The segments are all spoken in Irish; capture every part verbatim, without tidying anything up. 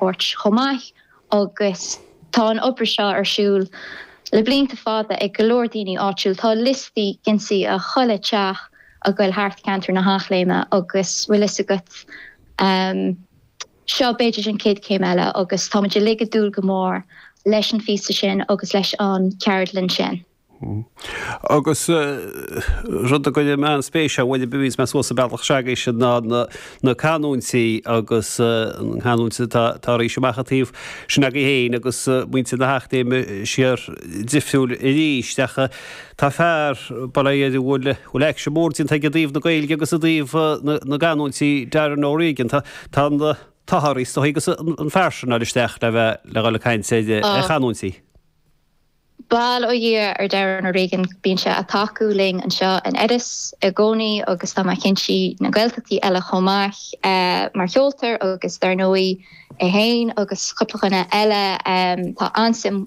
thabhairt chomh maith agus tá an obair seo ar siúl le blianta fada ag go leor daoine áitiúil tá liostaí ginsaí a chuile teach a bhfuil thart ceantar na hEachléime agus bhfuil fhios agat um, seo b'fhéidir an chéad chéim eile agus táimid uilig ag dúil go mór leis an bhfísa sin agus leis an ceardlann sin. Agus rud a chuir mé an-spéis a bhfuil bhís me suas a bealach seaga sin ná na canúintí agus an canúint tá éis amach taobh sin agaibh féin agus muintir na hEachléime siar difriúil arís ach tá fear bail ó Dhia air a bhfuil bhfuil éigse mór déanta aige i dtaobh na Gaeilge agus i dtaobh na gcanúintí Darren O'Regan tá tá an t-ádh is agus an fear sin isteach le bheith le dhul ag caint ar chanúintí. Bail ó Dhia ar Darren O'Regan bíonn sé ag tacú linn anseo in Iorras i gcónaí agus tá mé cinnte na Gaeltachtaí eile chomh maith uh, mar cheoltóir agus dar ndóigh é féin agus cúpla duine eile um, tá an-suim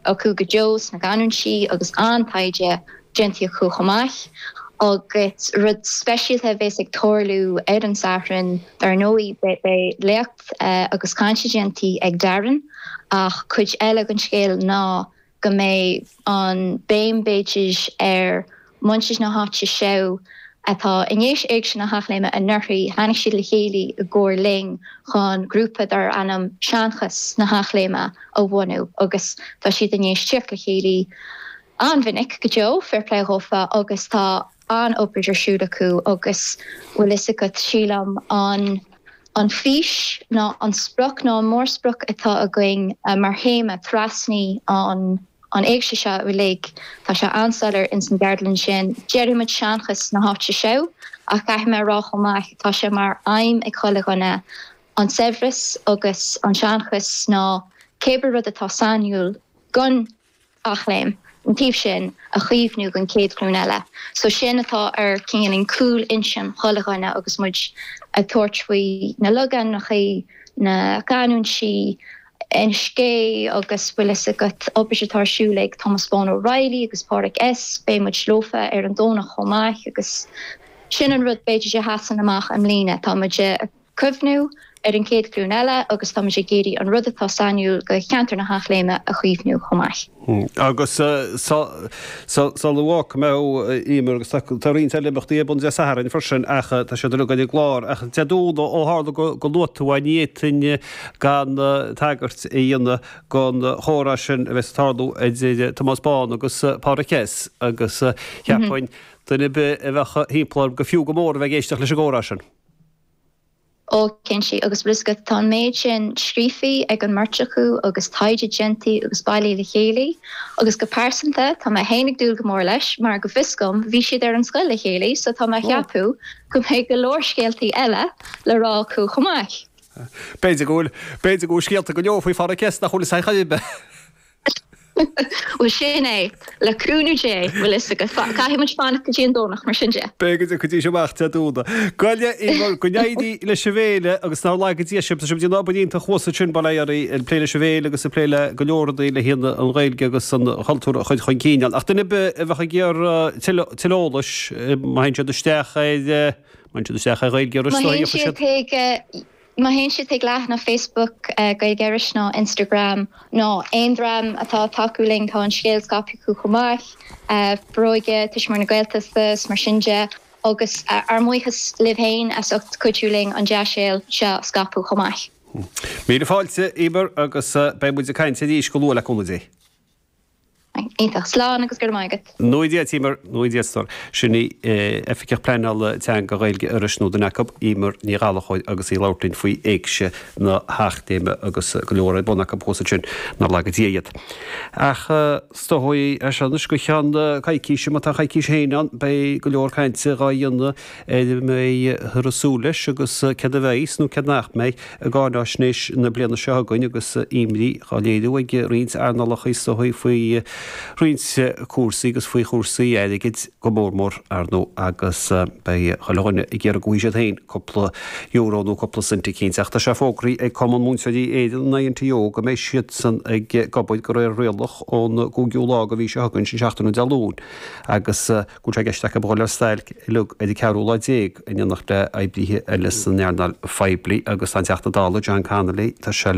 acu go deo sna canúintí agus an-taighde déanta acu chomh maith. agus rud speisialta bheas ag tarlú ar an Satharn dar ndóigh beidh léacht uh, agus caint déanta ag Darren ach cuid eile den scéal ná go mbeidh an béim b'fhéidir ar muintir na háite seo atá i ndiaidh Éigse na hEachléime anuraidh tháinig siad le chéile i gcomhar linn chun grúpa dar ainm Seanchas na hEachléime a bhunú agus tá siad i ndiaidh teacht le chéile an-mhinic go deo fair plé dhófa agus tá an-obair ar siúl acu agus bhfuil fhios agat sílim an an fís ná an sprioc ná an mórsprioc atá againn uh, mar théama trasna an an éigse seo uilig tá sé an-soiléir ins an gceardlann sin deirimid seanchas na háite seo ach caithfidh mé rá chomh maith tá sé mar aidhm ag chuile dhuine an saibhreas agus an seanchas ná cébí rud atá sainiúil don Eachléim an taobh sin a chaomhnú don chéad ghlúin eile. So sin atá ar cineál cúl intinn chuile dhuine agus muid ag tabhairt faoi na logainmneacha na canúintí an scé agus bhfuil fhios agat obair atá ar siúl ag Thomas Bán O'Reilly agus Pádraig S beidh muid leofa ar an Domhnach chomh maith agus sin an rud b'fhéidir a sheasann amach i mbliana tá muid cuimhniú ar an chéad ghlúin eile agus tá muid ag iarraidh an rud atá sainiúil go cheantar na hEachléime a chaomhnú chomh maith. Agus sa luach me ímer agus tá roinnt eile imeachtaí ar bun Dé Sathairn freisin ach tá sé go ag glár ach Dé Domhnaigh ó tharla go luaigh tú ní fhéadfainn gan tagairt a dhéanamh don chomhrá sin a bheas ag tarlú idir Tomás Bán agus Pádraig S agus cheapfainn duine ar bith a bheadh timpeall go fiú go mór a bheith ag éisteacht leis an gcomhrá sin. Ó cinnte agus bhfuil fhios agat tá an méid sin scríofa ag an mbeirt acu agus taighde déanta agus bailithe le chéile agus go pearsanta tá mé féin ag dúil go mór leis mar go bhfios dom bhí siad ar an scoil le chéile so tá mé ag ceapadh go mbeidh go leor scéaltaí eile le rá acu chomh maith. B'fhéidir go bhfuil b'fhéidir go bhfuil scéalta go leor faoi Phádraig S nach bhfuil sa chaibbe. Well sin é le cúnamh Dé bhfuil fhios agat caithfidh muid fanacht go dtí an Domhnach mar sin de. Beidh go dtí amach Dé Domhnaigh. Goile go n-éirí leis an bhféile agus nár laga Dia sibh sibh ag obair iontach thuas sin bail ó Dhia ag plé leis an bhféile agus ag plé le go leor rudaí le haghaidh an Ghaeilge agus an chultúr a chur chun cinn. Ach duine ar bith a bheadh ag iarraidh tuilleadh eolais má théann siad isteach ar má théann siad isteach ar Ghaeilge Má théann siad Má théann siad ag leathanach Facebook uh, Gaeilge Iorrais ná Instagram nó aon dream atá ag tacú linn tá an scéal scaipthe acu chomh maith, uh, Foróige Tuismitheoirí na Gaeltachta mar sin de agus uh, ár mbuíochas libh féin as ucht cuidiú linn an dea-scéal seo scaipeadh chomh maith. Míle fáilte Emer agus beidh muid ag caint arís go luath le cúnamh Dé. Iontach slán agus go raibh maith agat. Nó Dia Emer nó Dia sin í Oifigeach Pleanála Teanga Ghaeilge Iorrais nó duine acu Emer Ní Ghallchóir agus í ag labhairt linn faoi Éigse na hEachléime agus go leor ar bun acu thuas ansin nár laga Dia iad. Ach is dóigh é seo go ceann coicíse má tá coicís féin ann beidh go leor cainte á dhéanamh ar a mbeifear ag súil leis agus céard a bheas nó céard nach mbeidh i gcáinaisnéis na bliana seo chugainn agus imní á léiriú ag roinnt earnálacha is dóigh faoi roinnt cúrsaí agus faoi chúrsaí airgid go mór mór ar ndóigh agus beidh chuile dhuine ag iarraidh go bhfaighidh siad féin cúpla euro nó cúpla cent eicínt. Ach tá sé fógraithe ag Cumann Múinteoirí Éireann an INTO go mbeidh siadsan ag obair de réir rialach ón gcúigiú lá den mhí seo chugainn sin seachtain Dé Luain agus go bhfuil sé i gceist acu dul ar stailc uilig ar an ceathrú lá déag in éineacht le oibrithe eile san earnáil phoiblí agus an Teachta Dála John Connolly tá sé